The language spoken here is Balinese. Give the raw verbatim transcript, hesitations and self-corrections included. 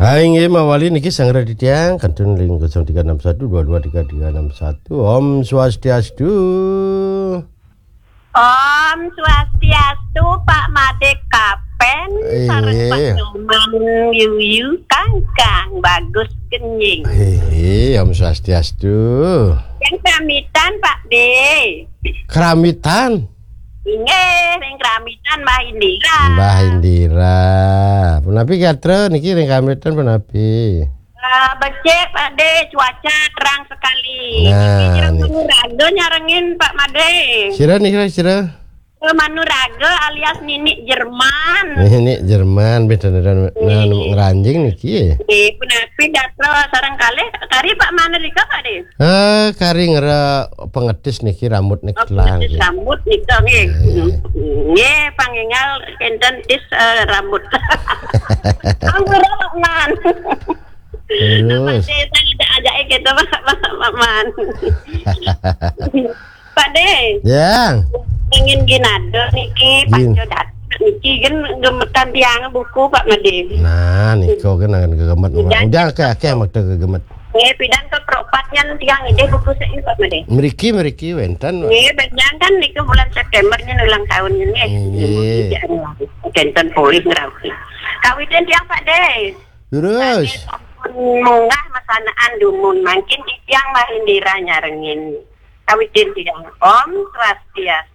Hai, inggih mawali niki sanggra titiang kantun ring kosong tiga enam satu dua dua tiga tiga enam satu. Om Swastiastu. Om Swastiastu, Pak Made Kapen, sareng Pak Nyoman Yuyu, Kangkang Bagus Genjing. Inggih, Om Swastiastu. Yang pamitan, Pak De. Keramitan. Inggih, ring Keramitan Mbah Indira. Mbah Indira. Punapi gatra niki ring Keramitan punapi? Eh, becik, Pak De, cuaca terang sekali. Nah, niki sira niki. Manuraga nyarengin, Pak Made. Sira niki, sira? Eh, Manuraga alias Nini Jerman. Nini Jerman, beda dengan, nah, ngranjing niki. Eh, punapi gatra sareng kalih, kari Pak Made rika, Pak De? Eh, kari ngera pengedis niki rambut niki. Oh, telang pengedis nggih. Rambut nika nggih. Nggih. Nggih, pangénggal kénten tis, eh, rambut. Ampura, Pak Man. Terus. Pak De, saya ajak-ajak kita, Pak, Pak, Pak Man. Pak De. Ya. Ingin ginado niki, Gin. Panco datang niki kan gemetan tiang buku, Pak Made. Nah, niko kan akan gegemet. Udah. Udah, akeh, akeh makta gegemet. Eh, pidan ke peropat nyan tiang idih buku saya, Pak Made. Mriki, mriki wénten. Nggih, benjang kan niku bulan September nyen ulang tahun nyen, nggih. Nggih. Wénten polih ngrauh. Kawitin tiang, Pak De. Terus. Pak De sampun munggah masanaan dumun, mangkin titiang Mbah Indira nyarengin. Kawitin tiang. Om Swastiastu.